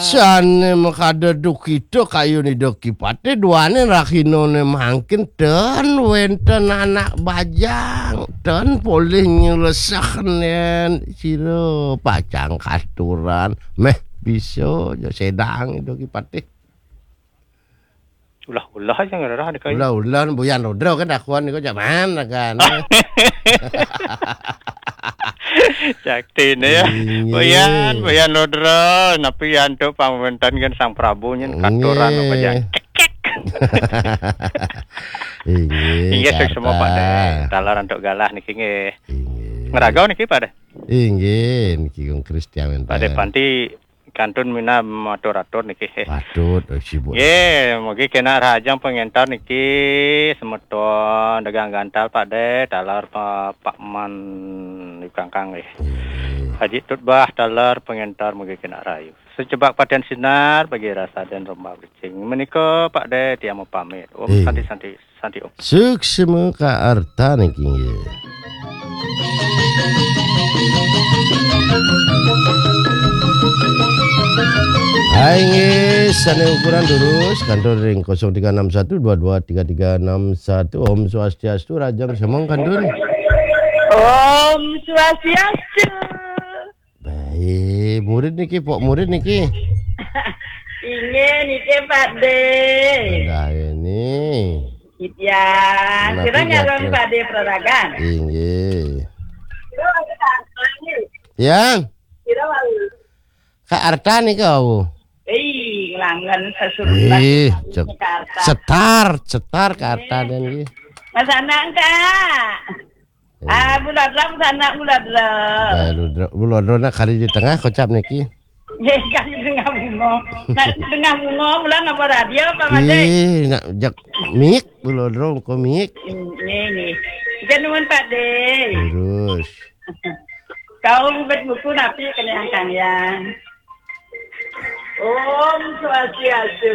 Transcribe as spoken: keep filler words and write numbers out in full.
Sané makada duka cita kayun Ida Ki Patih, duaning rahinané mangkin ten wénten anak bajang, ten polih nyelesehnen sira pacang katuran. Méh bisa ja sédang Ida Ki Patih. Ulah-ulah aja ngererah dek ayu. Ulah-ulah Buyan Rudra kan dakuan niku jaman kan. Cakti ne ya. Inggih. Buyan, Buyan Rudra, napi antuk pangwénten kan Sang Prabu nyen katuran apa aja. Inggih. Cekek. Inggih, inggih, suksma Pak Dé. Taler antuk galah niki nggih. Inggih. Ngeragau niki Pak Dé. Inggih, niki Gung Kristian wénten. Pak Dé Panti kantun minab matur-atur niki. Patut, oh, sibuk. Nggih, mugi kenak rahajeng pangénter niki semeton dagang gantal Pak Dé, taler pa-, Pak Man di Kangkang nggih. Nggih. Haji Tutbah taler pangénter mugi kenak rahayu. Sejebak patihan sinar bagi rasa dan romba blicing. Menika Pak Dé tiang mau pamit. Om Santi Santi. Santi Om. Suksma kaarta niki nggih. Hai nggih, sané ukuran durus, kantun ring kosong tiga enam satu dua dua tiga tiga enam satu. Om Swastiastu, rahajeng semeng kantun. Om Swastiastu. Baik, murid niki, pok murid niki. Inggih niki Pak Dé. Dah ini. Ya, nah, sira nyaran Pak Dé Praragan. Inggih. Yang Kak Arta nika, Bu. Eh, nglangen sesurupan. Ih, cek. Setar, setar Kak Arta dan nggih. Mas anak Kak. Ah, Bulodra, anak Bulodra. Eh, Bulodra, Bulodra nak kali di tengah kocap niki. Nggih, kali tengah bunga. Nak tengah bunga, mula ngapa radio apa Mas Dé? Ih, nak jak mik, Bulodra ko mik. Nggih, nggih. Jan nuwun Pak Dé. Terus. Kau bet buku napi kena angkang ya. Om Swastiastu.